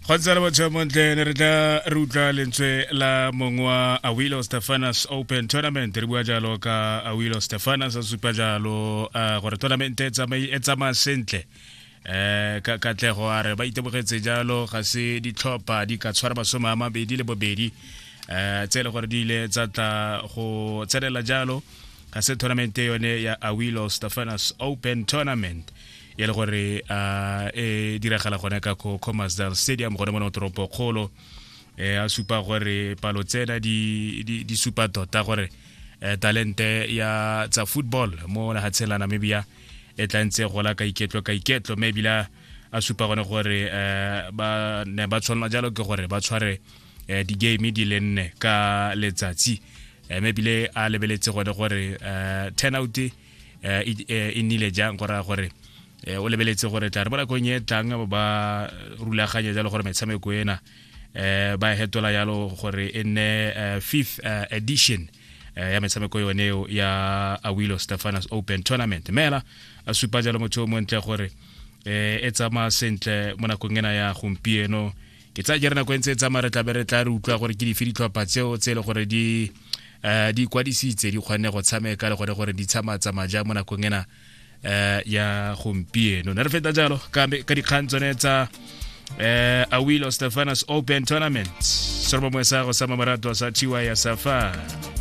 Go ntse le motho montle ne re tla re utlwa lentswe la mongwe wa Awilo Stefanas Open Tournament. Re bua jalo ka Awilo Stefanas, a supa jalo gore tournament e e tsamaya sentle ka katlego. A re ba itemogetse jalo ga se ditlhopha di ka tshwara 28 tse e le gore di ile tsa tla go tsenela jalo ga se tournament yone ya Awilo Stefanas Open Tournament, e le gore e diragala gone ka ko Khomasdal Stadium gone mo toropo kgolo. A supa gore palo tsena di supa tota gore talente ya tsa football mo lehatsheng la Namibia e tla ntse gola ka iketlo ka iketlo, mme ebile a supa gone gore ba ne ba tshwanela jalo ke gore ba tshware di-game di le nne ka letsatsi, mme ebile a lebeletse gone gore turnout e nnile jang. Go raya gore o lebeletse gore tla re mo nakong e tlang ba rulaganya jalo gore metshameko ena ba e hetola jalo gore e nne fifth edition ya metshameko yone eo ya Awilo Stefanas Open Tournament. Mela a supa jalo motho o montle gore e tsamaya sentle mo nakong ena ya gompieno. Ke tsaya ke re nako e ntse e tsamaya, re tla be re tla re utlwa gore ke dife ditlhopha tseo tse e le gore di kwadisitse, di kgonne go tshameka, le gone gore di tsamaya jang mo nakong ena ya gompieno. Ne re feta jalo ka dikgang tsone tsa Awilo Stefanas Open Tournament. Sorobo mwe sa go sa mamaratwa sa Chiwa ya Safari.